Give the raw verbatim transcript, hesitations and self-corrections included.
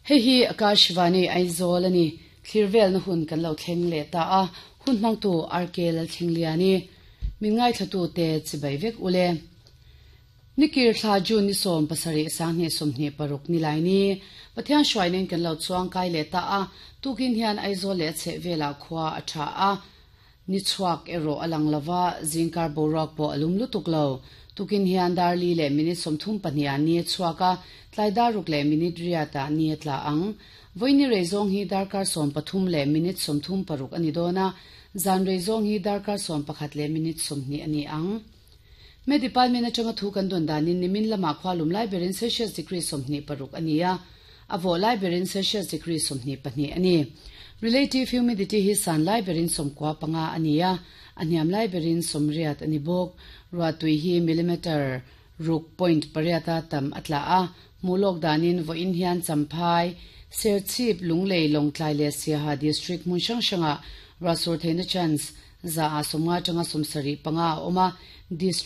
Hei hi Akashvani Aizawl ani. Thlirvel na hun kan lo thleng leh ta a, hun hmangtu R K Lalthlengliani. Min ngaithlatu te chibai vek ule. Nikir thla June ni sawm pasarih sanghnih sawmhnih paruk ni lai ni. Pathian hruainin kan lo chuang kai leh ta a, tukin hian Aizawl leh a chhehvelah khua a tha a, ni chhuak erawh a lang lova, zingkar boruak pawh a lum lutuk lo. Tukin hian dar li leh minute sawmthum pahnih ah ni a chhuak a, tlai dar ruk leh minute riat ah ni a tla ang. Vawiini rei zawng hi darkar sawm pathum leh minute sawmthum paruk a ni dawn a, zan rei zawng hi darkar sawm pakhat leh minute sawmhnih a ni ang. Me department atanga thu kan dawn danin nimin lamah khua lum lai berin Celsius degree sawmhnih paruk a ni a, a vawh lai berin Celsius degree sawmhnih pahnih a ni. Relative humidity hi san lai berin sawmkua panga a ni a, a hniam lai berin sawmriat a ni bawk. Ruahtui hi millimeter ruk point pariata tam a tla a, hmuh lawk danin vawiin hian Champhai, Serchhip, Lunglei, Lawngtlai leh Siaha district hmun hrang hrangah ruahsur theihna chance za a sawmnga atanga sawmsarih panga a awm a, district